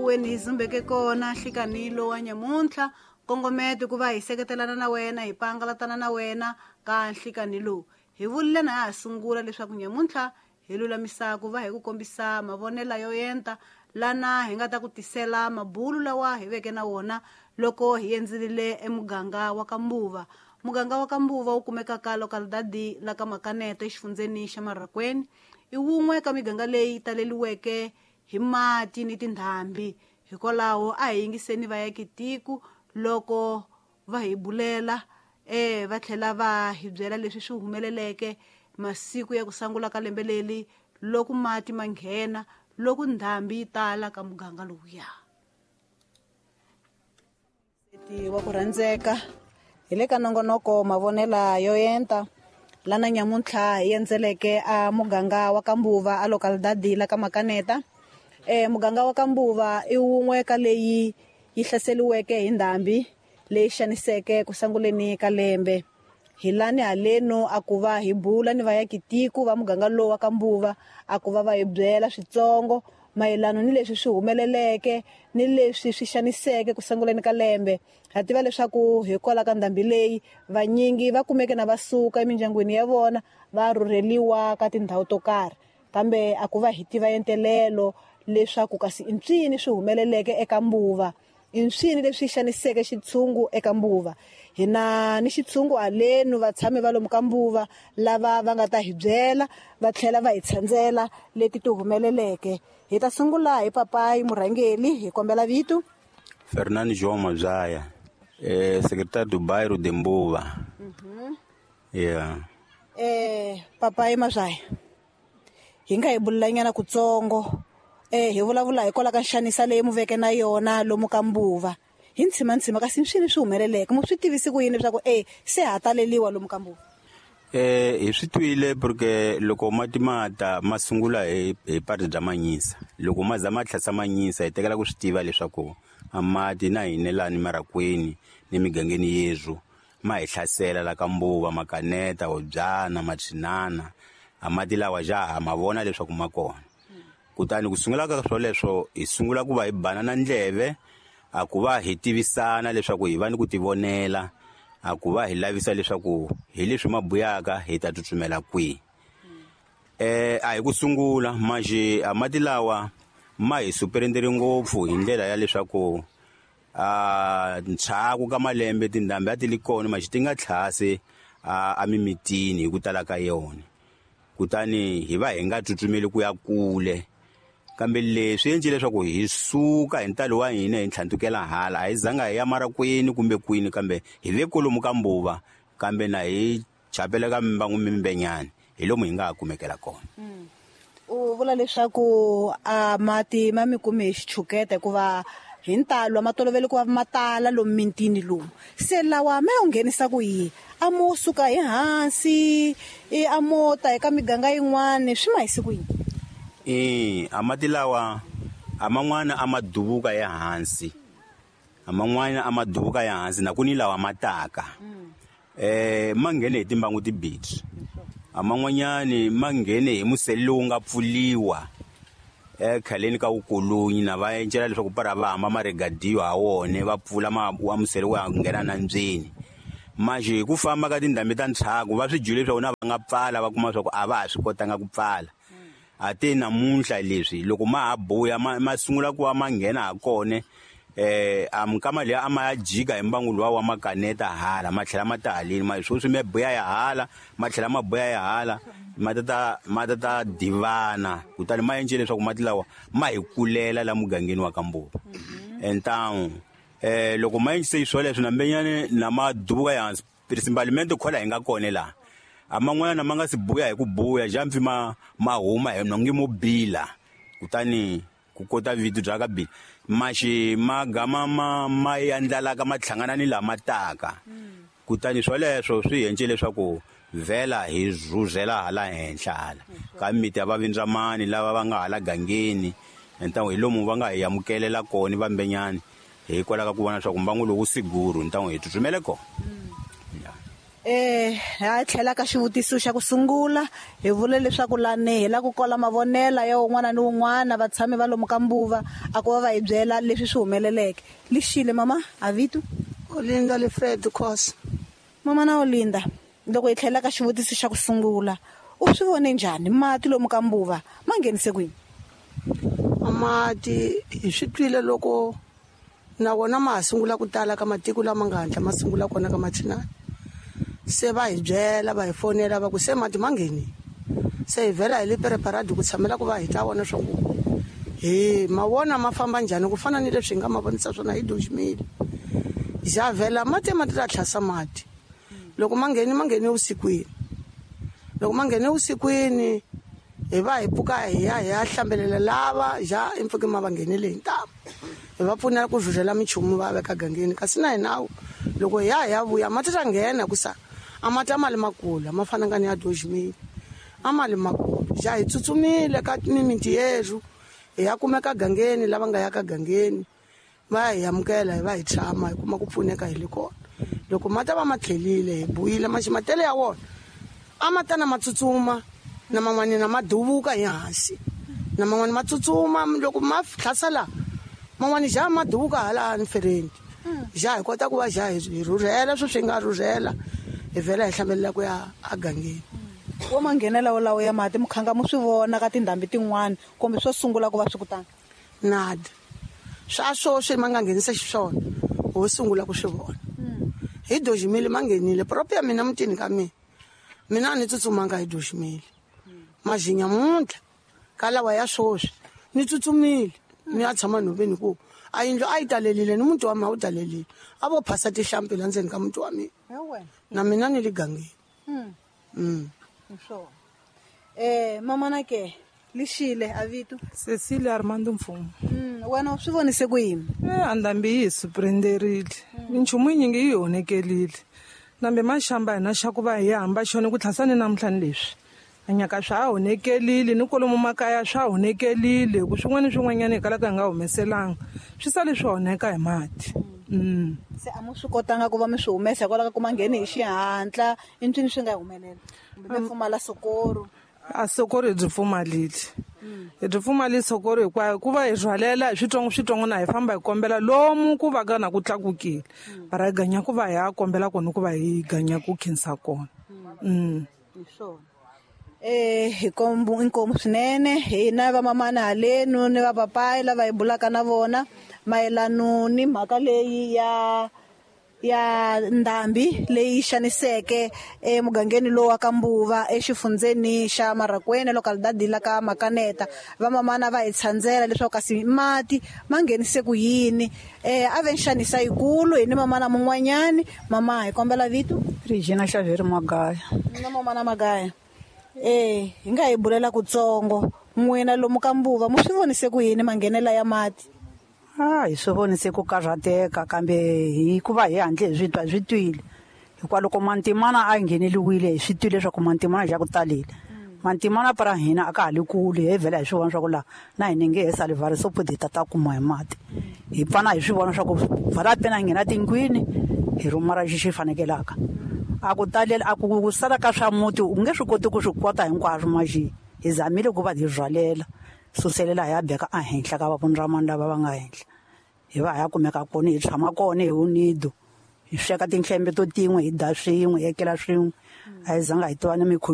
Weni hi zumbeke kona nhlikanhi lowa nyamuntlha nkongometo ku va hi seketelana na wena hi pangalatana na wena ka nhlikanhi lowu hi vulile na ha sungula leswaku nyamuntlha hi lulamisa ku va hi ku kombisa mavonelo yo enta lana hi nga ta ku tisela mabulu lawa hi veke na wona loko hi endzerile emuganga wa ka Mbuva. Muganga wa ka Mbuva wu kumeka ka localidade la ka Makaneta exifundzeni xa Marraquene. I wun'we ka miganga leyi taleliweke hi mati ni tindhambi. Hikwalaho a hi yingiseni vaakitiko loko va hi bulela e va tlhela va hi byela leswi swi humeleleke masiku ya ku sangula ka lembe leri loko mati ma nghena loko ndhambi yi tala ka muganga lowuya. Wa ku rhandzeka hi le ka nongonoko mavonela yo enta lana nyamuntlha hi endzeleke a muganga wa ka Mbuva a localidade la ka Makaneta. Muganga wa ka Mbuva i wun'we ka leyi yi hlaseriweke hi ndhambi leyi xaniseke ku sanguleni ka lembe. Hi lani haleno a ku va hi bula ni vaakitiko va muganga lowu wa ka Mbuva a ku va va hi byela switsongo mayelana ni leswi swi humeleleke ni leswi swi xaniseke ku sunguleni ka lembe. Ha tiva leswaku hikwalaho ka ndhambi leyi vanyingi va kumeke na va suka emindyangwini ya vona va rhurheliwa ka tindhawu to karhi, kambe a ku va hi tiva entelelo leswaku kasi i mpsini swi humeleleke eka Mbuva, i mpsini leswi xaniseke xitshungu eka Mbuva. Hi na ni xitshungu halenu vatshami va lomu ka Mbuva lava va nga ta hi byela va tlhela va hi tshandzela leti ti humeleleke. Hi ta sungula hi papayi murhangeli, hi kombela vito. Fernando João Mazaya, secretário do bairro de Mbuva. Yeah. Papayi Mazaya, hi nga hi bulelanyana kutsongo hi vulavula hikwalaho ka nxanisa leyi mu veke na yona lomu ka Mbuva. Hi ntshima kasi swini swi humeleleke mu swi tivisi ku yini leswaku se ha taleliwa lomu ka Mbuva? Hi swi twile porque loko mati ma ta ma sungula hi parte bya Manyisa. Loko ma za ma tlhasa Manyisa hi tekela ku swi tiva leswaku a mati na hina lani Marraquene ni migangeni yezwo ma hi hlasela la ka Mbuva, Makaneta, Hobyana, Machinana. A mati lawa ja ha ma vona leswaku ma kona. Kutani ku sungula ka swoleswo hi sungula ku va hi banana ndleve a ku va hi tivisana leswaku hi va ni ku tivonela, a ku va hi lavisa leswaku hi leswi ma buyaka hi ta tsutsumela kwihi. A hi ku sungula manje a mati lawa ma hi superendere ngopfu hi ndlela ya leswaku a ntshaku ka malembe tindhambi a ti li kona manje ti nga tlhase a mimitini hi ku tala ka yona. Kutani hi va hi nga tsutsumeli ku ya kule, kambe leswi endle leswaku hi suka hi ntalo wa hina hi ntlhantukela hala. A hi zanga hi ya Marraquene kumbe kwini, kambe hi ve kolomu ka Mbuva, kambe na hi chapela ka mbangu mimbenyani hi lomu hi nga ha kumekela kona. U vula leswaku a mati ma mi kume hi xichuketa hikuva hi ntalo ma tolovele ku va ma tala lomu mintini lomu. Se lawa ma yo nghenisa ku yini? A mo suka hi hansi, a mo ta eka miganga yin'wani, swi ma hisi ku yini? A mati lawa a man'wana a ma duvuka ya hansi, a man'wana a ma duvuka ya hansi na ku ni lawa ma taka. Ma nghene hi timbangu tibirhi. A man'wanyani ma nghene hi musele lowu nga pfuliwa ekhaleni ka vukolonyi na va encela leswaku para va hamba ma regadiwa ha wona va pfula ma wa musele wa nghena na ndzeni. Manje hi ku famba ka tindhambi ta ntshaku va swi dyile leswaku na va nga pfala va kuma leswaku a va ha swi kotanga ku pfala. A te namuntlha leswi loko ma ha buya ma sungula ku va ma nghena ha kona, a minkama liya a ma ya jika hi mbangu luwa wa Makaneta hala ma tlhela ma ta haleni, ma sweswi ma buya ya hala ma tlhela ma buya ya hala ma ta divana. Kutani ma endle leswaku mati lawa ma hi kulela la mugangeni wa ka Mbuva. Entangu loko ma endlise swoleswo na mbenyane na ma duvuka ya hansi principalmente khola hi nga kona laha. A man'wana ma nga si buya hi ku buya jampfi ma huma hi nongi mo bila. Kutani ku kota vito bya ka bila maxi ma gama ma yandlalaka ma tlhangana ni lama taka. Kutani swoleswo swi endle leswaku vhela hi rhurhela hala henhla hala ka miti ya vavindzamani lava va nga hala gangeni. Ntangu hi lomu va nga hi amukelela kona vambenyani hikwalaho ka ku vona leswaku mbangu lowu wu siguru, ntangu hi tsutsumele kona. Ha tlhela ka xivutiso xa ku sungula hi vule leswaku lani hi la ku kola mavonela ya un'wana ni un'wana vatshami va lomu ka Mbuva a ku va va hi byela leswi swi humeleleke. Lixile mama a vito Olinda Lefred Khosa. Mama na Olinda, loko hi tlhela ka xivutiso xa ku sungula, u swi vone njhani mati lomu ka Mbuva ma nghenise kwini? Mati hi swi twile loko na wona ma ha sungula ku tala ka matiko lama nga hatla ma sungula kona ka machinani. Se va hi byela, va hi fonela va ku se mati ma nghenile. Se hi vhela hi le preparadi ku tshamela ku va hi ta vona swa ku hi ma vona ma famba njhani ku fana ni leswi hi nga ma vonisa swona hi doximile. Ja vhela mati ma ta tlhasa mati. Loko ma ngheni, ma nghene vusikwini. Loko ma nghene vusikwini hi va hi pfuka hi ya hi ya hlambelela lava ja impfuke ma va nghenele hi ntamu. Hi va pfunela ku rhurhela minchumu va veka gangeni, kasi na hina loko hi ya hi ya vuya mati ta nghena ku sa a mati a ma le makulu, a ma fananga ni ya doximile, a ma le makulu. Ja hi tsutsumile ka mimiti yerhu hi ya kumeka gangeni, lava nga ya ka gangeni va hi amukela, hi va hi tshama hi kuma ku pfuneka hi le kona. Loko mati va ma tlhelile hi buyile maximatele ya wona a ma tana ma tsutsuma, na man'wani na ma duvuka hi hansi, na man'wani ma tsutsuma loko ma tlhasa la man'wani ja ma duvuka hala ni fereni. Ja hi kota ku va ja hi rhurhela swi swi nga rhurhela, hi vhela hi hlambelela ku ya agangeni. Wo ma nghenela wolawo ya mati mukhanga mu swi vona ka tindhambi tin'wana kumbe swo sungula ku va swi kutani? Nada, swa swoswi ma nga nghenisa xiswona ho sungula ku swi vona hi doximile ma nghenile propo ya mina mutini ka mina, mina a ni tsutsumanga hi doximile majinya muntlha ka lawa ya swoswi ni tsutsumile ni ya tshama nhoveni ku a yindlu a yi talelile ni muti wa mina a wu talelile, a vo phasa tihlampfi la ndzeni ka muti wa mina na mina ni le gangeni. Hi swona. Mama ke lixile a vito? Cecilia Armando Mfumo. Wena u swi vonise ku yini? A ndhambi yi hi surprenderile, minchumu yinyingi yi hi honekelile, nambe maxamba hina xa ku va hi hamba xona ku tlhasa ni namuntlha ni leswi a nyaka swa ha honekelile ni kwalomu makaya swa honekelile, ku swin'wana ni swin'wanyana hi kalaka hi nga humeselanga swi sale swi honeka hi mati. Se a mu swi kotanga ku va mi swi humesa hikwalaho ka ku ma ngheni hi xihatla, i ncini swi nga humelela kumbe mi pfumala sokoro? A sokoro hi byi pfumalile, hi byi pfumalile sokoro hinkwayo, ku va hi rhwalela hi switsongo switsongo na hi famba hi kombela lomu ku va ka na ku tlakukile, mara hi ganya ku va hi ya kombela kona ku va hi ganya ku khensa kona. Hi swona. Hi kombu inkomu swinene hina vamamana halenu ni vapapayi lava hi bulaka na vona mayelano ni mhaka leyi ya ndhambi leyi xaniseke emugangeni lowu wa ka Mbuva exifundzeni xa Marracuene, localidade la ka Makaneta. Vamamana va hi tshandzela leswaku kasi mati ma nghenise ku yini. A ve nxanisa yikulu hi ni mamana mun'wanyani. Mama, hi kombela vito. Regina Xaveri Magaya. Na mamana Magaya, hi nga hi bulela kutsongo, n'wina lomu ka Mbuva mu swi vonise ku yini manghenela ya mati? A hi swi vonise ku karhateka, kambe hikuva hi handle hi swi twa, hi swi twile hikuva loko mantimana a ngheneliwile hi swi twile leswaku mantimana xa ku talile mantimana para hina a ka ha le kule, hi vhela hi swi vona swa ku laha na hina nge he sali vhari sopodi hi ta ta kuma hi mati. Hi pfana hi swi vona swa ku vhala pena hi nghena tindlwini hi rhumara xi xi fanekelaka a ku talela a ku sala ka swa muti u nge swi koti ku swi kota hinkwaswo maxi hi zamile ku va hi rhwalela suselela hi ya beka ehenhla ka vavundramani lava va nga henhla, hi va hi ya kumeka kona, hi tshama kona hi unido, hi sweka tinhlembe to tin'we, hi dya swin'we, hi ekela swin'we, a hi zanga hi tiva ni.